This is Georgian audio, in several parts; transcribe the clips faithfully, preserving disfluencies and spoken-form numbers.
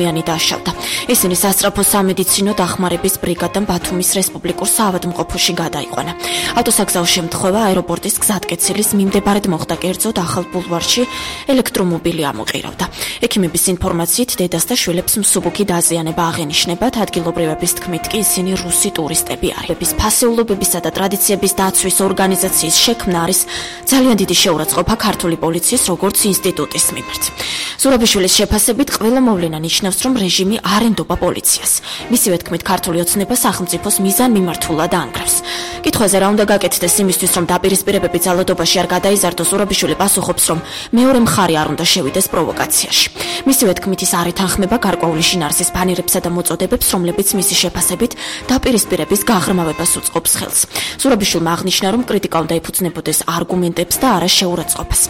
ადამიანი დაშავდა. ისინი სასწრაფო სამედიცინო დახმარების ბრიგადამ ბათუმის რესპუბლიკურ საავადმყოფოში გადაიყვანა. ავტოსაგზაო შემთხვევა აეროპორტის გზატკეცილის მიმდებარედ მოხდა, კერძოდ ახალ ბულვარში ელექტრომობილი ამოყირავდა. ექიმების ინფორმაციით დედას და შვილებს მსუბუქი დაზიანება აღენიშნებათ, ადგილობრივების თქმით კი ისინი რუსი ტურისტები არიან. ფასეულობებისა და ტრადიციების დაცვის ორგანიზაციის შექმნა არის ძალიან დიდი შეურაცხყოფა ქართული პოლიციის როგორც ინსტიტუტის მიმართ. ზურაბიშვილის შეფასებით ყველა მოვლენა ნიშნავს, რომ რეჟიმი არ ენდობა პოლიციას. მისივე თქმით, ქართული ოცნება სახელმწიფოს მიზანმიმართულად ანგრევს. კითხვაზე რა უნდა გაკეთდეს იმისთვის, რომ დაპირისპირებები ძალადობაში არ გადაიზარდოს, ზურაბიშვილი პასუხობს, რომ მეორე მხარე არ უნდა შევიდეს პროვოკაციაში. მისივე თქმით, ის არ ეთანხმება გარკვეული შინაარსის ბანერებსა და მოწოდებებს, რომლებიც მისი შეფასებით დაპირისპირების გაღრმავებას უწყობს ხელს. ზურაბიშვილმა აღნიშნა, რომ კრიტიკა უნდა ეფუძნებოდეს არგუმენტებს და არა შეურაცხყოფას.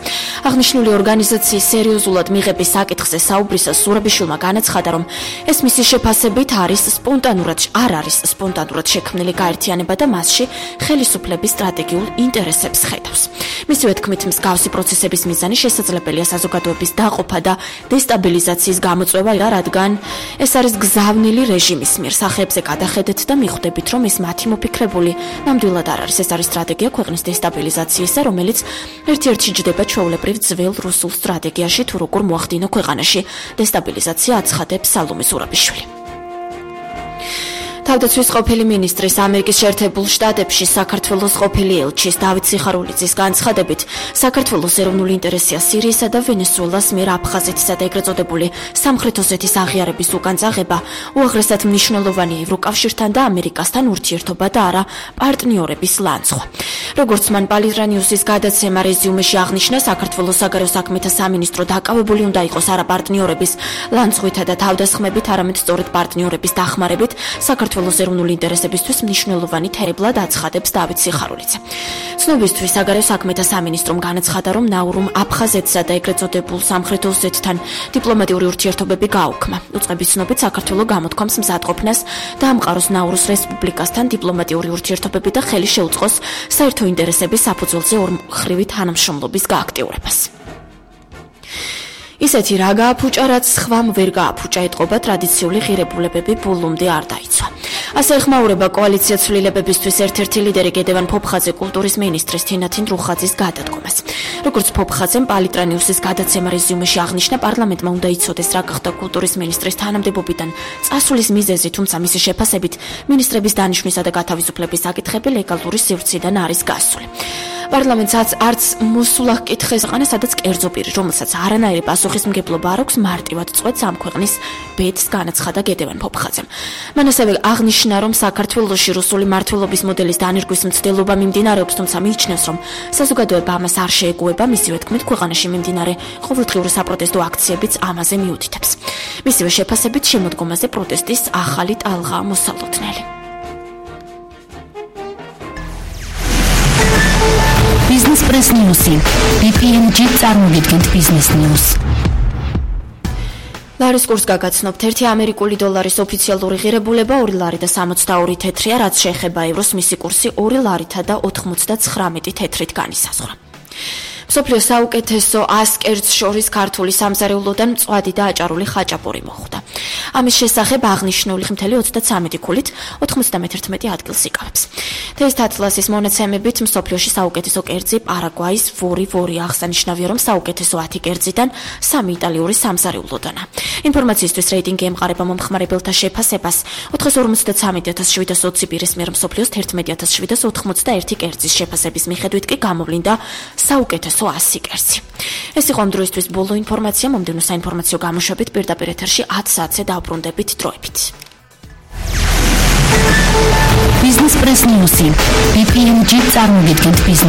აღნიშნული ორგანიზაციის სერიოზულად მიღების საკითხზე საუბრისას ზურაბიშვილმა განაცხადა, რომ ეს მისი შეფასებით არის სპონტანურად არ არის სპონტანურად შექმნილი გაერთიანება და მასში ხელისუფლების სტრატეგიულ ინტერესებს ხედავს. მისივე თქმით, მსგავსი პროცესების მიზანი შესაძლებელია საზოგადოების დაყოფა და დესტაბილიზაციის გამოწვევა, რადგან ეს არის გზავნილი რეჟიმის მიერ. სახეებზე გადახედეთ და მიხვდებით, რომ ეს მათი მოფიქრებული ნამდვილად არ არის. ეს არის სტრატეგია ქვეყნის დესტაბილიზაციისა, რომელიც ერთ-ერთი ჯდება ჩვეულებრივ ძველ რუსულ სტრატეგიაში, თუ როგორ მოახდინო ქვეყანაში დესტაბილიზაცია, აცხადებს სალომე ზურაბიშვილი. თავდაცვის ყოფილი მინისტრის ამერიკის შეერთებულ შტატებში საქართველოს ყოფილი ელჩის დავით სიხარულიძის განცხადებით, საქართველოს ეროვნული ინტერესია სირიისა და ვენესუელას მიერ აფხაზეთისა და ეგრეთ წოდებული სამხრეთ ოსეთის აღიარების უკან წაღება უაღრესად მნიშვნელოვანია ევროკავშირთან და ამერიკასთან ურთიერთობა და არა პარტნიორების ლანცხვა. როგორც მან პალირანიუსის გადაცემა რეზიუმეში აღნიშნა, საქართველოს საგარეო საქმეთა სამინისტრო დაკავებული უნდა იყოს არა პარტნიორების ლანცხვითა და თავდასხმებით, არამედ სწორედ პარტნიორების დახმარებით საქართველოს ეროვნული ინტერესებისთვის მნიშვნელოვანი თერებლად აცხადებს დავით სიხარულიძე. ცნობისთვის საგარეო საქმეთა სამინისტრომ განაცხადა, რომ ნაურუმ აფხაზეთსა და ეგრეთ წოდებულ სამხრეთ ოსეთთან დიპლომატიური ურთიერთობები გაუქმა. უწყების ცნობით, საქართველო გამოთქვამს მზადყოფნას დაამყაროს ნაურუს რესპუბლიკასთან დიპლომატიური ურთიერთობები და ხელი შეუწყოს საერთო ინტერესების საფუძველზე ორმხრივი თანამშრომლობის გააქტიურებას. ისეთი რა გააფუჭა, რაც სხვამ ვერ გააფუჭა, ეტყობა ტრადიციული ღირებულებები ბულუმდე არ დაიცვა. ასე ეხმაურება კოალიცია ცვლილებებისთვის ერთ-ერთი ლიდერი გედევან ფოფხაძე კულტურის მინისტრის თინათინ რუხაძის გადადგომას. როგორც ფოფხაძემ პალიტრანიუსის გადაცემა რეზიუმეში აღნიშნა, პარლამენტმა უნდა იცოდეს, რა გახდა კულტურის მინისტრის თანამდებობიდან წასulis მიზეზი, თუმცა მისი შეფასებით მინისტრების დანიშვნისა და გათავისუფლების საკითხები ლეგალური სივრციდან არის გასული. პარლამენტსაც არც მოსულა კითხეს აყენა, სადაც კერძო პირი, რომელსაც არანაირი პასუხისმგებლობა არ აქვს, მარტივად წყვეტს ამ ქვეყნის ბედს, განაცხადა გედევან ფოფხაძემ. მან ასევე აღნიშნა, რომ საქართველოში რუსული მმართველობის მოდელის დანერგვის მცდელობა მიმდინარეობს, თუმცა მიიჩნევს, რომ საზოგადოება ამას არ შეეგუება. მისივე თქმით, ქვეყანაში მიმდინარე ყოველდღიური საპროტესტო აქციებიც ამაზე მიუთითებს. მისივე შეფასებით, შემოდგომაზე პროტესტის ახალი ტალღაა მოსალოდნელი. Business Press News. ბი პი ენ ჯი წარმოგიდგენთ Business News. ლარის კურსს გაგაცნობთ. ერთი ამერიკული დოლარის ოფიციალური ღირებულება ორი ლარი და სამოცდაორი თეთრია, რაც შეეხება ევროს, მისი კურსი ორი ლარითა და ოთხმოცდათხრამეტი თეთრით განისაზღვრა. მსოფლიოს საუკეთესო ას კერძს შორის ქართული სამზარეულოდან მწვადი და აჭარული ხაჭაპური მოხვდა. ამის შესახებ აღნიშნული მთელი ოცდაცამეტი ქულით ოთხმოცდამეთერთმეტი ადგილს იკავებს. თესტ ატლასის მონაცემებით მსოფლიოში საუკეთესო კერძი პარაგვაის ვორი ვორი. აღსანიშნავია, რომ საუკეთესო ათი კერძიდან სამი იტალიური სამზარეულოდანა. ინფორმაციისთვის რეიტინგი ემყარება მომხმარებელთა შეფასებას. ოთხსახუთმოცდაცამეტი ათას შვიდას ოცი პირის მიერ მსოფლიოს თერთმეტი ათას შვიდას ოთხმოცდაერთი კერძის შეფასების მიხედვით კი გამოვლინდა საუკეთესო ასი კერძი. ეს იყო ამ დროისთვის ბოლო ინფორმაცია. მომდევნო საინფორმაციო გამოშვებით პირდაპირ ეთერში ათ საათზე დაუბრუნდებით დროებით. Business Press News. ბი პი ენ ჯი წარმოგიდგენთ Business